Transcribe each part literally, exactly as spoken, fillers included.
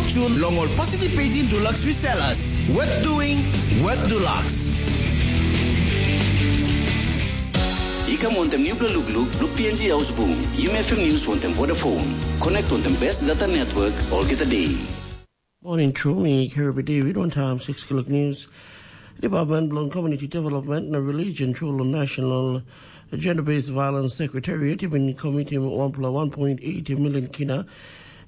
Soon long ol participating Dulux resellers. Worth doing, worth Dulux. I kam wantem nupela lukluk bilong P N G Ausbung, Yumi F M News wantem Vodafone. Connect wantem best data network olgeta day. Morning, true me, Kirby David, one time six o'clock news. Department bilong Community Development na Religion, true long National Gender-Based Violence Secretariat, i bin komitim wanpela one point eight million kina.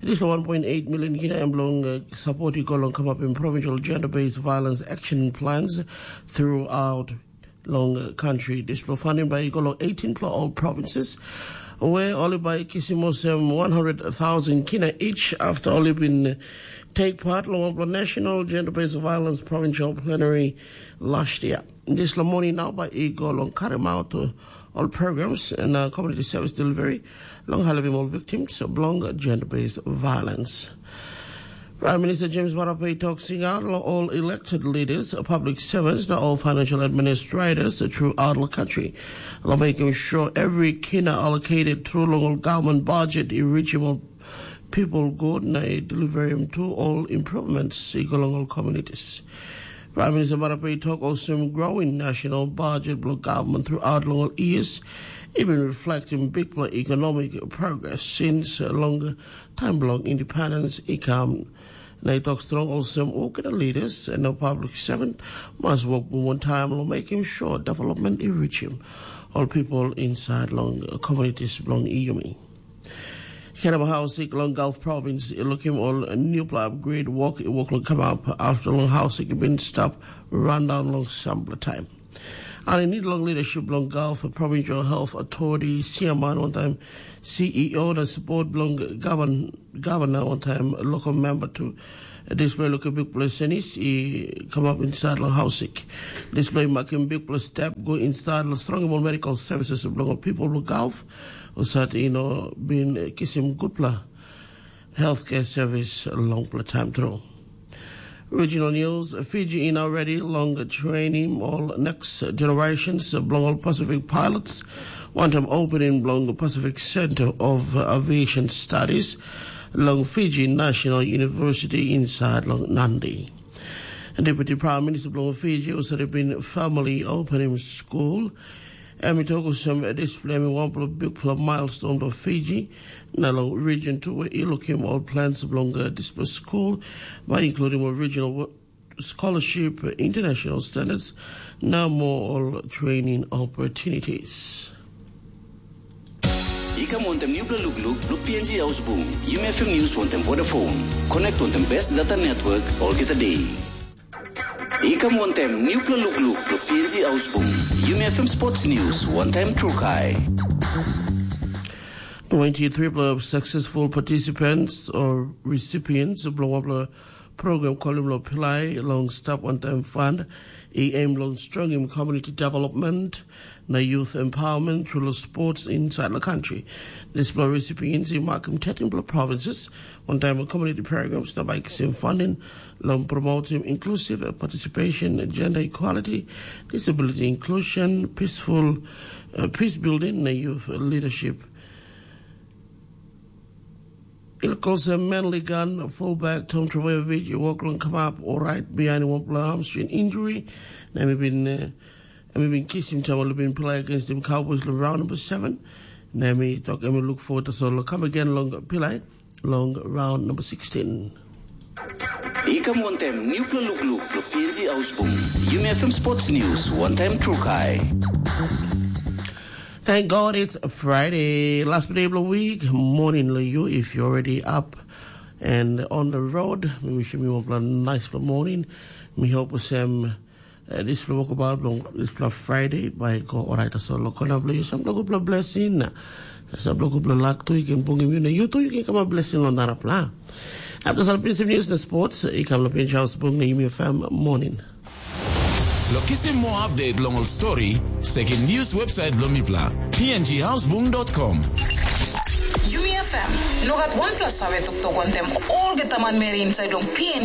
Dispela one point eight million kina em bilong uh, support i go long kamapim provincial gender-based violence action plans throughout long uh, country. Dispela funding by i go long eighteen pla all provinces, where only by kisim olsem one hundred thousand kina each after only been take part long one national gender-based violence provincial plenary last year. Dispela money now by i go long karim out uh, all programs and uh, community service delivery long helping all victims belong gender-based violence. Prime Minister James Marape talks out all elected leaders, public servants, the all financial administrators throughout the country. Lo making sure every kina allocated through long government budget is reachable people good na deliver him to all improvements i go long all communities. Prime Minister Marape talk also growing national budget block government throughout long all years, even reflecting big economic progress since long time block independence i come. Na i tok strong olsem olgeta leaders and no public servant must work one time long making sure development i reach him. All people inside long communities belong Iyumi. Keraba Hausik long Gulf Province i lukim ol nupela upgrade work i work long kamap after long Hausik i bin stop rundown long sampela time. And i need long leadership long Gulf Provincial Health Authority, C M R, one time C E O, the support belong govern, governor, one time local member to display local big place senis i come up inside long Hausik. Display making big place step go inside long strong more medical services belong people long Gulf. Usat, you know, been kisim good pla healthcare service long pla time through. Regional news, Fiji in already long training all next generations belong all Pacific pilots. One time opening belong Pacific Center of Aviation Studies long Fiji National University inside long Nandi. Deputy Prime Minister belong Fiji also been formally opening school. Em i tok olsem dispela em i wanpela bikpela milestone bilong Fiji, na long region tu i lukim ol plans bilong dispela skul, bai including ol regional scholarship, international standards, na more ol training opportunities. I kam wantem nupela lukluk bilong P N G Ausbung, Yumi F M News wantem Vodafone. Connect wantem best data network olgeta day. I kam wantem nupela lukluk bilong P N G Ausbung, Yumi F M Sports News wantem Trukai. Twenty-three pla successful participants or recipients bilong wanpela program kolim lo pilai long stap wantaim fund i aim long strongim community development na youth empowerment through lo sports inside the country. Dispela recipients i makim thirteen pla provinces wantaim community programs na by kisim funding long promoting inclusive participation, gender equality, disability inclusion, peaceful uh, peace building na youth leadership. Ilkolse Manly Gun, fullback Tom Travojevic, i wok long kamap orait bihain wanpela hamstring injury, na em i bin uh, em i bin kisim taim ol i bin pilai against him Cowboys long round number seven. Na em i tok em i look forward tasol long kam again long pilai long round number sixteen. I kam wantem nupela lukluk lo P N G Ausbung, Yumi F M Sports News wantem Trukai. Thank God it's Friday. Last day of the week, morning lo you if you're already up and on the road. Mi wishim you a nice morning. Mi hope olsem uh, dispela wokabaut bilong dispela Friday bai go orait tasol lo kona bilong you sampela gutpela blessing na sampela gutpela lak tu you can bungim you na you tu you can come a blessing lo narapela. After salpinsim news na sports, i kam lo pinch house bung na Yumi F M morning. Lo kisim moa update long ol stori, sekim news website bilong mipela, P N G housebung dot com. Yumi F M, no gat wanpela save toktok wantem olgeta manmeri inside long P N G.